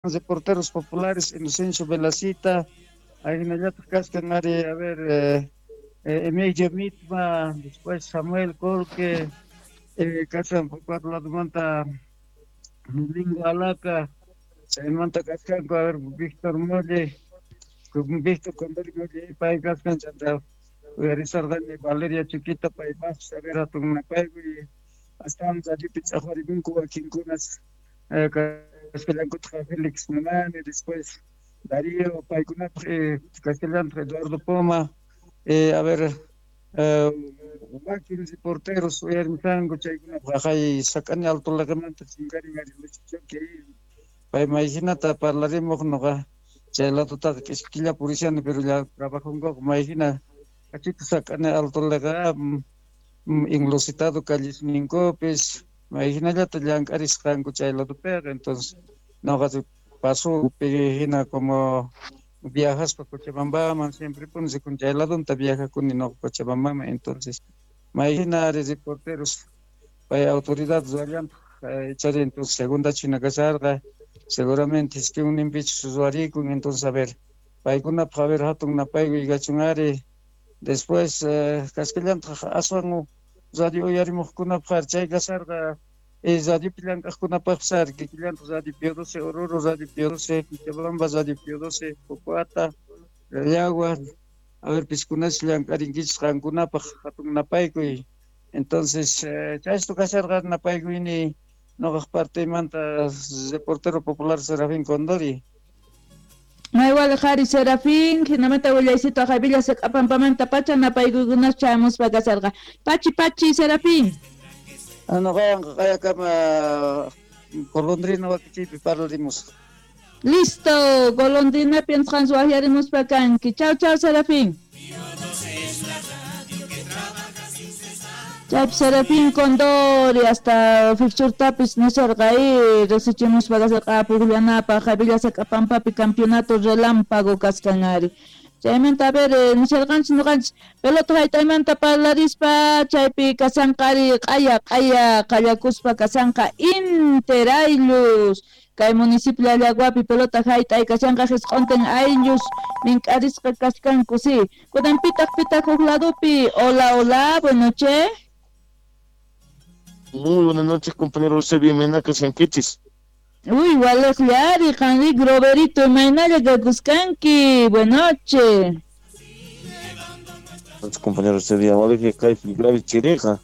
Reporteros populares Inocencio Velacita, ahinallataq kachkan ari, a ver, Emilio Mitma, después Samuel Colque, kachkan cuatro ladomanta Domingo Alaca, chaymanta kachkanku, a ver, Víctor Molle, Víctor Condori Molle, pay kachkan, chanta uyarisarqani Valeria Chiquita, paypaqpis, a ver, hatun napaykuy, astawan radiopi ch'aqwarimunku wakinkunas, kasqallankutaq Félix Mamani, después Darío, paykunapaq kasqallantaq Eduardo Poma, a ver, wakin reporteros uyarimusqanku chaykunapaq aqay sak'ani Alto Laqamanta chinkarin ari Lucho Choque, pay mayhinata parlarimuq noqa chay ladutaqa k'ishkilla purishani, pero ya trabajonkuqa mayhina kachita sak'ani Alto Laqa enlositado callisninkupis mayhinallata llank'arisqanku chay ladopiqa. Entonces noqa paso hina como viajaspa Cochabambaman siempre puni con chay ladonta viajakuni noqa Cochabambaman. Entonces mayhina ari reporteros pay autoridad ruwallantaq chari. Entonces segunda china kasharqa seguramente iskinninpichus ruwarikun. Entonces, a ver, paykunapaq, a ver, hatun napaykuy kachun ari. Después kasqallantaq aswan radio uyarimuqkunapaq chay kasarqa, radiopi llank'aqkunapaqpis ari kikillantaq Radio Pío 12 Oruro, Radio Pío 12 Cochabamba, Radio Pío 12 Pocoata, Llagua, a ver, piskunas llank'arinkichis qankunapaq hatun napaykuy. Entonces chaysto kasharqa napaykuyni noqaq parteymanta, reportero popular Serafín Condori. Maywal qhari Serafín, hinamanta willaysito aqay Saq'apampamanta pacha napaykuykunas chayamuspa kasarqa. Pachi pachi Serafín. Noqawanqa q'ayakama golondrina wakichiypi parlarimusaq. Listo, golondrina piensqan waqyarimuspa kanki. Chau chau Serafín. Chaypi Serafín Condori hasta fixurtapis nisarqa riqsichimuspa kasarqa pukllanapaq Villa Saq'apampapi campeonato relámpago kaskan ari. Chaymanta, a ver, nisharqanchis noqanchis pelota haytaymanta parlarispa chaypi kasanqa ari q'aya q'aya qallakuspa kasanqa interaylus kay municipio Llallaguapi pelota hayt'ay kashanqa hisq'untin ayllus mink'arisqa kachkanku si. Kunan pitaq pitaq huk ladopi. Hola, hola, buenas noches. Muy buenas noches, compañero Eusebio Menaka Sanquichis. Uy, waleqllari, qanri Groverito, imaynalla kakuskanki. Buenas noches. Noches, compañero Eusebio, waleqlla kaypi grave chiriqa.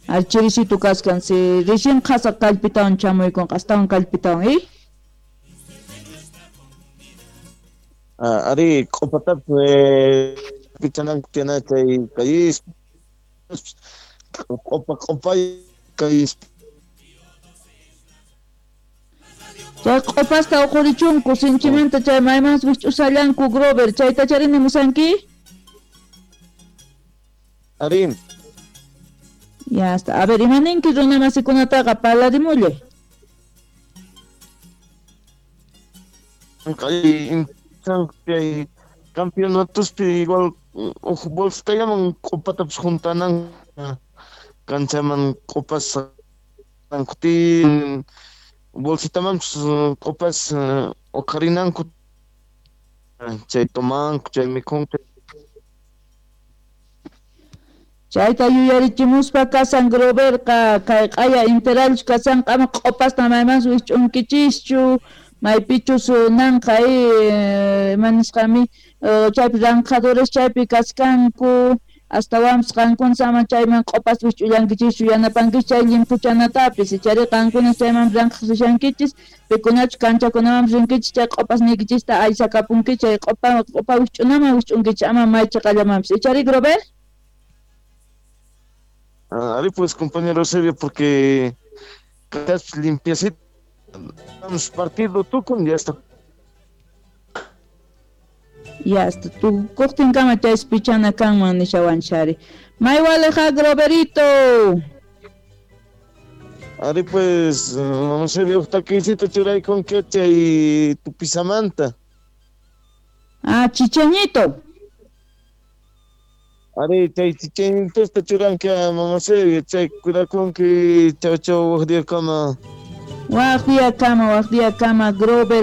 Al chiricito kaskan, si recién qhasa kallpitawan chamuykunqa, astawan kallpitawan, ¿eh? Ari, q'upatapis pichananku tiyana chay calles, q'upa q'upay calles. Chay q'upasta uqurichunku sinchimanta chay maymansi wich'usallanku Grover, chayta charini musanki? Ari. Ya está. A ver, imaninki runa masikunataqa parlarimullay. Kay campeonatospi igual uj bolsitallaman q'upatapis juntanan kanchaman q'upas tin bolsitamanpis q'upas uqharinanku chay tomanku chay mikhunku. Chayta yuyarichimuspa kasan Groverqa kay q'aya interalchu kasanqa ama q'upasta maymansi wich'unkichischu maypichus nanqa imanisqami chaypi ranqhadores chaypi kaskanku astawanpis qankuna ama chayman q'upasta wich'ullankichischu yanapankichis chay llimphuchanatapis ichari qankuna chayman ranqhaq rishankichis pikunachu kanchakunamanpis rinkichis chay q'upasniykichista aysakapunkichis chay q'upa q'upa wich'unaman wich'unkichis ama maychiqallamanpis ichari Grover. Ari pues, compañero Eusebio, porque limpiecito, damos partido tukun, ya está. Ya está, tukuqtinkama chaysi pichana kanman nishawanchari. Maywaleja Groverito. Ari pues, Eusebio, uqtakisito churaykunki chay tupisamanta. Ah, chicheñito. Ari, chay chicheñitosta churanki mama Eusebio, chay cuidakunki, chau chau waq diyakama. Waj día kama, waj día kama, Grover.